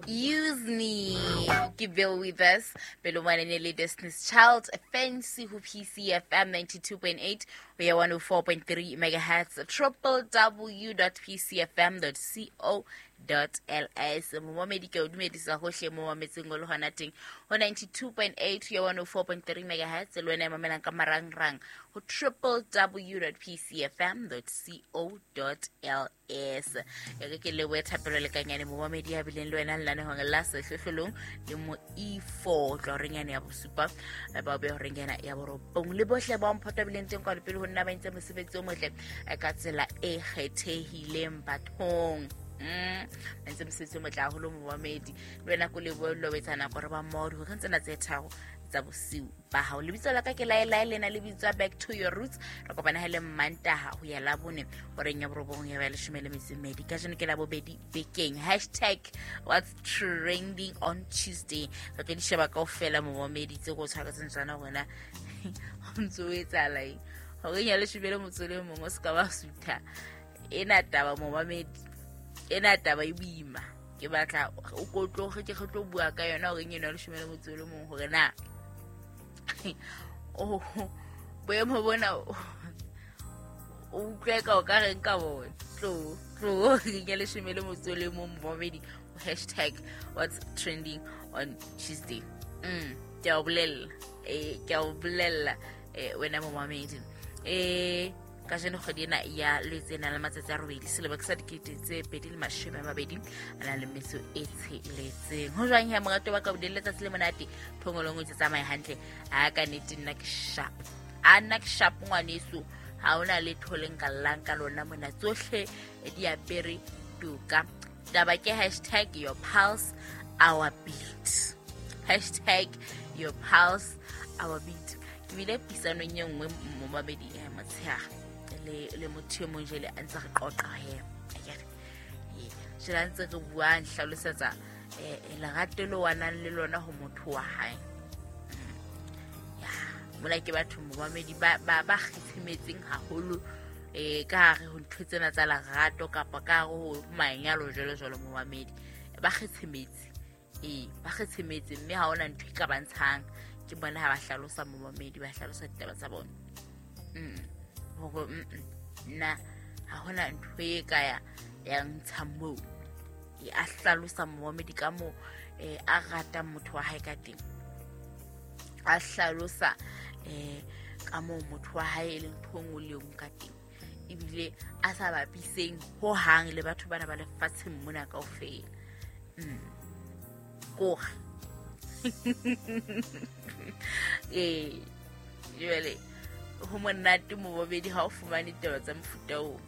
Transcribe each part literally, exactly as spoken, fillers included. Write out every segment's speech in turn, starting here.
Use me ke Bill Withers pele ngwane le Destiny's Child Fancy ho P C F M ninety-two point eight ho ya one oh four point three megahertz triple w dot p c f m dot co dot l s. Momamedi ke o dumedisa hohle mo mametseng o le hona teng ho ninety-two point eight ho ya one oh four point three megahertz le wena e mamelang ka marangrang ho triple w dot p c f m dot co dot l s. E re ke lebohe Thapelo Lekanyane momamedi ya bileng le wena lenanehong la Sehlohlolong le mo E four tla horeng yane ya bosupa ba be horeng yana ya borobong le bohle ba mphota bileng teng kwa pele ho nna ba entse mosebetsi o motle ka tsela e kgethehileng bathong. Mm ntse mosebetsi o motle haholo momamedi le wena ko lebohe lo betsana gore ba mmoho hore tsena tse tharo tsa bosiu ba hao. Lebitso la ka ke Laelae lena le bitswa Back to Your Roots. Re kopana hele Mantaha ho ya Labone horeng ya borobong ya ba leshome le metso e mmedi. Kajeno ke Labobedi bekeng. Hashtag what's trending on Tuesday. Re tlo di sheba kaofela momamedi tse go tshwaretseng tsona rona ho ntso etsahala eng horeng ya leshome le motso le mong o se ka ba sutha. Ena taba momamedi, ena taba e boima. Ke batla o kotlo ke re tlo bua ka yona horeng eno ya leshome le motso le mong hore na oh boemo bona o utlwe ka o ka reng ka bona. Tlo tlo ke leshome le motso le mong momamedi hashtag what's trending on Tuesday. Mm ke a o bolella eh ke a o bolella eh wena momamedi eh kajeno kgwedi ena ya Lwetse na le matsatsi a robedi selemo ke sa dikete tse pedi le mashome a mabedi a nang le metso e tsheletseng. Ho jwang he morato wa ka o delle letsatsi le monate phongolong o ntse tsamaye hantle. A ka nnete nna ke sharp, a nna ke sharp ngwaneso, ha hona letho le nka llang ka lona mona, tsohle di apere toka. Taba ke hashtag your pulse our beat, hashtag your pulse our beat. Ke bile puisanong e nngwe momamedi e motshehare le le motho e mong jele a ntse re qoqa he akere ee jele a ntse re bua nhlalosetsa eh lerato le wa nang le lona ho motho wa hae. Ya mona ke batho momamedi ba ba ba kgethemetseng haholo eh ka hare ho ntho tsena tsa lerato kapa ka hare ho manyalo jwalo jwalo momamedi ba kgethemetse ee ba kgethemetse mme ha hona ntho e ka ba ntshang. Ke bona ha ba hlalosa momamedi ba hlalosa ditaba tsa bona mm hore nna ha hona ntho e ka ya ya ntsha moo. E a hlalosa momamedi ka moo eh a ratang motho wa hae ka teng, a hlalosa eh ka moo motho wa hae e leng ntho nngwe le nngwe ka teng, ebile a sa bapiseng ho hang le batho bana ba lefatsheng mona kaofela. Mm kore eh jwale ho monate momamedi ha o fumane ditaba tsa mofuta oo.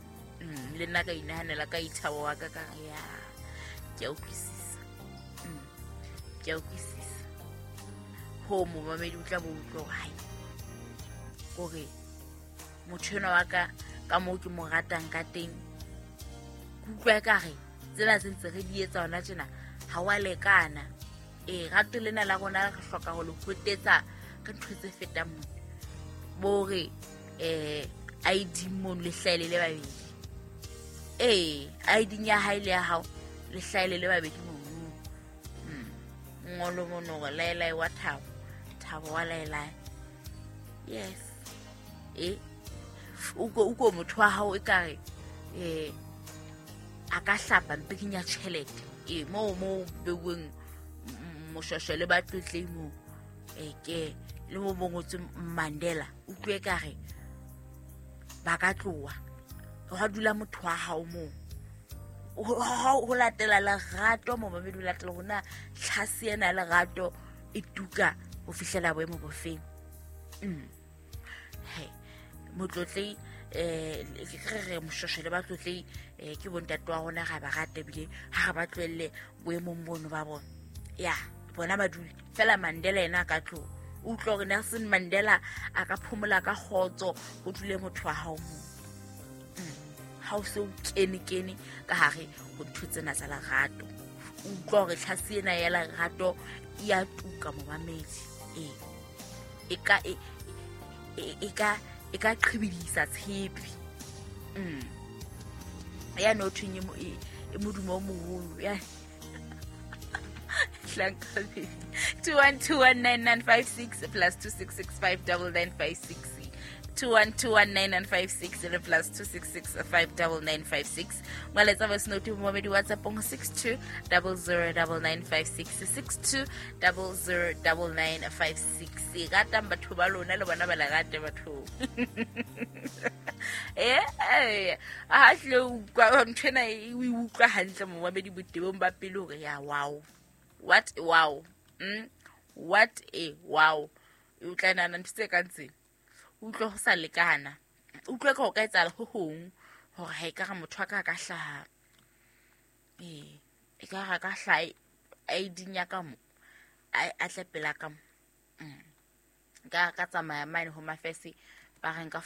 Mm le nna ka inahanela ka ithabo wa ka ka ya ke a utlwisisa. Mm ke a utlwisisa ho momamedi o tla bo utlwa hore hai kore motho enwa wa ka ka moo ke mo ratang ka teng ke utlwa ekare tsena tse ntse re di etsa hona tjena ha wa lekana. E rato lena la rona re hloka ho le hotetsa ka ntho tse fetang mona bore eh I D mono le hlaele le babedi eh I D ya hae le ya hao le hlaele le babedi mono. Mm ngolo mono gore Laelae wa Thabo, Thabo wa Laelae. Yes eh uko uko motho wa hao ekare eh a ka hlapa mpeking ya tjhelete e mo mo beuweng moshwashwa le batlotlei mo e ke le mo bongotswe Mandela utlwe ekare ba ka tloha hwa dula motho wa hao moo ho latela lerato momamedi o latela hona tlhase ena lerato e tuka ho fihlela boemo bofeng. Mm he motlotlei eh ke re moshwashwa le batlotlei eh ke bontate wa rona ga ba rate ebile ha re ba tlohelle boemong bono ba bona. Ya bona ba dule fela Mandela yena a ka tloha o utlwa hore Nelson Mandela a ka phomola ka kgotso ho dule motho wa hao moo. Ha o se o kene kene ka hare ho ntho tsena tsa lerato o utlwa hore tlhase ena ya lerato e a tuka momamedi ee e ka e e ka e ka qhibidisa tshepe. Mm ya no thweng e modumo o moholo ya Mohlanka baby. Two one two one nine nine five six plus two six six five double nine five six. Two one two one nine nine five six le plus two six six five double nine five six. Ngwaletsa voice note momedi WhatsApp on six two double zero double nine five six six two double zero double nine five six. Ratang batho ba lona le bona ba le rate batho. Eh, eh, a hle utlwa nthwena e o e utlwa hantle momamedi botebong ba pele hore ya wow. What a wow. Mm? What a wow. O tla nahana ntho tse kang tsena. Utlwe ho sa lekana. Utlwe ka ho ka etsahala ho hong hore ha ekare motho a ka a ka hlaha. Eh, e ka re a ka hlaha I D ya ka mo. A a tle pela ka mo. Mm. Ka ka tsamaya mane Home Affairs ba re nka